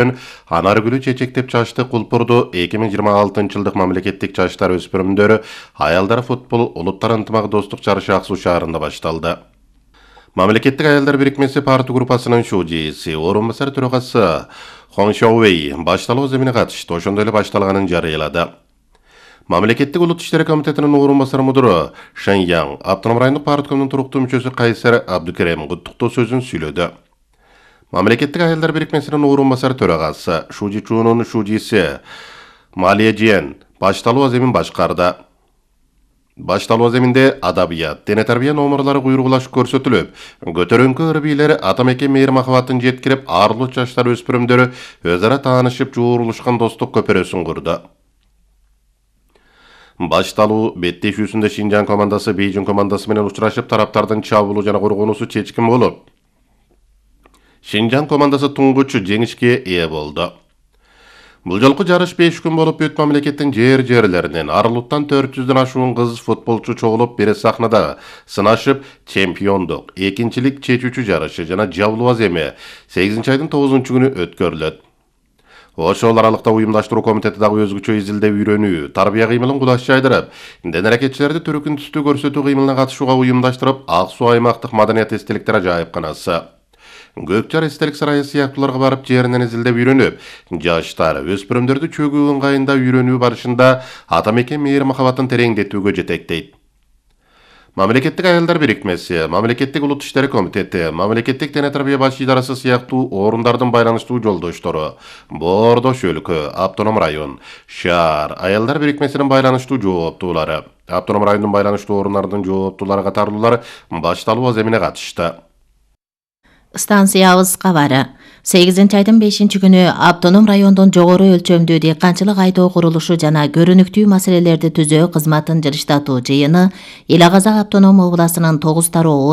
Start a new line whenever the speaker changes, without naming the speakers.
Анаргүлү чечектеп чачты Кулпурду 2026-жылдык мамлекеттик жаштар өспүрүмдөрү аялдар футбол улуттар ынтымак достук жарышы Аксу шаарында башталды. Мамлекеттик аялдар бирикмеси парты группасынын шужиси, орун басар төрагасы Хон Шоуэй башталуу земине катышты, ошондой эле башталганын жарыялады. Мамлекеттик улут иштери комитетинин орун басар мудуру Шэньян автоном райондук парткомдун туруктуу мүчөсү Кайсар Абдукерем куттуктоо сөзүн сүйлөдү. Мамлекеттик аялдар бирикмесинин орун басар төрагасы Шужи Чунун шужиси Малия Жиен башталуу аземин башкарды. Башталуу аземинде адабият, дене тарбия номерлары куйругулашып көрсөтүлүп, көтөрүңкү ырбийлер атамекен мейир махабатын жеткирип, арлуу жаштар өспүрүмдөрү өз ара таанышып, жуурулушкан достук көпөрөсүн курду. Башталуу беттешүүсүндө Шинжаң командасы Бейжиң командасы менен учурашып, тараптардын чабуулу жана коргонуусу чечкин болуп, Шинжаң командасы туңгуч жеңишке ээ болду. Бул жолку жарыш 5 күн болуп, бүт мамлекеттин жерлеринен арылуттан 400дөн ашуун кыз футболчу чогулуп, бир сахнада сынашып, чемпиондук, экинчилик чечүүчү жарышы жана жабылуу аземи 8-айдын 9-күнү өткөрүлөт. Ошол аралыкта уюмдаштыруу комитети дагы өзгөчө изилдөө үйрөнүү, тарбия кыймылын кудаш жайдырып, ден аракетчилерди түркүн түстүү көрсөтүү кыймылына катышууга уюмдаштырып, Ак Суу аймактык маданият эстеликтер ажайыпканасы, Көкчар эстелик сарайы сыяктууларга барып жеринен изилдеп үйрөнүп, жаштар, өспүрүмдөрдү чөгүү ыңгайында үйрөнүү барышында атамекен мейир махабатын тереңдетүүгө жетектейт. Мамлекеттик аялдар бирикмеси, Мамлекеттик улут иштери комитети, Мамлекеттик дене тарбия баш идарасы сыяктуу орундардын байланыштуу жолдоштору, Боордош өлкө, автоном район, шаар, аялдар бирикмесинин байланыштуу жооптуулары, автоном райондун байланыштуу орундардын жооптуулары катарлуулар башталуу аземине катышты.
Станциябыз кабары. 8-айдын 5-күнү автоном райондун жогору өлчөмдүү дыйканчылык айдоо курулушу жана көрүнүктүү маселелерди түзөө кызматын жылыштатуу жыйыны Эл Казак автоном областынын 9